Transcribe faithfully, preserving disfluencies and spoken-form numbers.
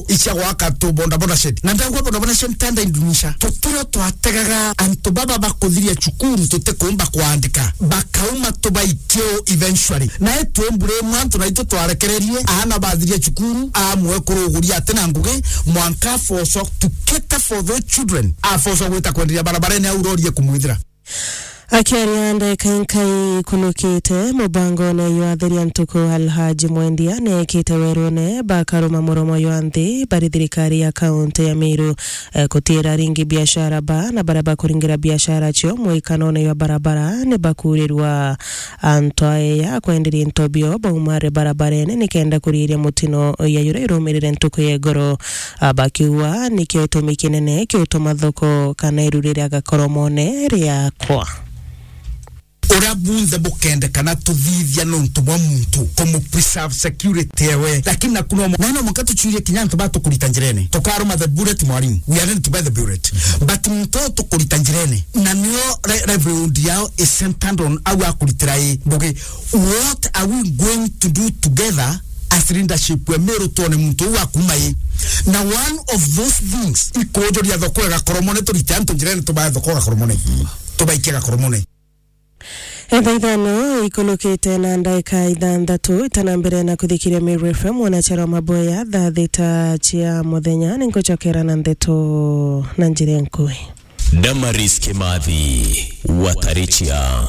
icia gwaka tu bodaboda shed. Na ndagwa bodaboda shed tanda indunisha. Tutiro twategaga antu baba bakuthiria cukuru tutikuumba kwandika. Bakauma tubaikie eventually. Na etumbure mwantu na itu twarekererie, aana bathiria cukuru, amwe kuruguria ati na ngugi, mwanka afoso to cater for those children. Afoso gwita kwenderia barabarene au rori ekumwithira. Akiaria ndeka inkai kunukite mubangone jwa Theria Ntuku, Alhaji Mwendia neekite werune bakaruma muromo jwa nthi bari thirikari ya kaunti ya Meru, eh, kutiira ringi biashara ba na baria bakuringira biashara cio mwikanone jwa barabara ni bakuurirwa. Antu aya kwenderia into bio baumare barabarene nikenda kuriiria mutino ya juria irumirire ntuku ya igoro. Ah, bakiuga nikio gitumi kinene kiutuma thoko kana iru riria gakoromone riakwa. Uria bunthe bukendekana tuthithia nontu bwa muntu, kumu preserve security ewe. Lakini na kuno, na no mwanka tuchurie kinya antu ba tukurita njirene. Tukaruma the bullet, mwarimu. We are ready to buy the bullet. But muntu uyu tukurita njirene. Na nio re-, livelihood yao is centered on au akuritira i ngugi. What are we going to do together as leadership we Meru tuone muntu uyu akuma i? Na one of those things, ikujuria thoko igakoromone turite antu njirene tubae thoko igakoromone. Tubaikie gakoromone. Thaa ithano ikulukite na ndaika ithanthatu itana mbere na kuthikiria Meru F M, mwanachara wa maboya, thaa thita cia muthenya, ningucokera na ndeto na njira nkui. Damaris Kimathi, Watarichia.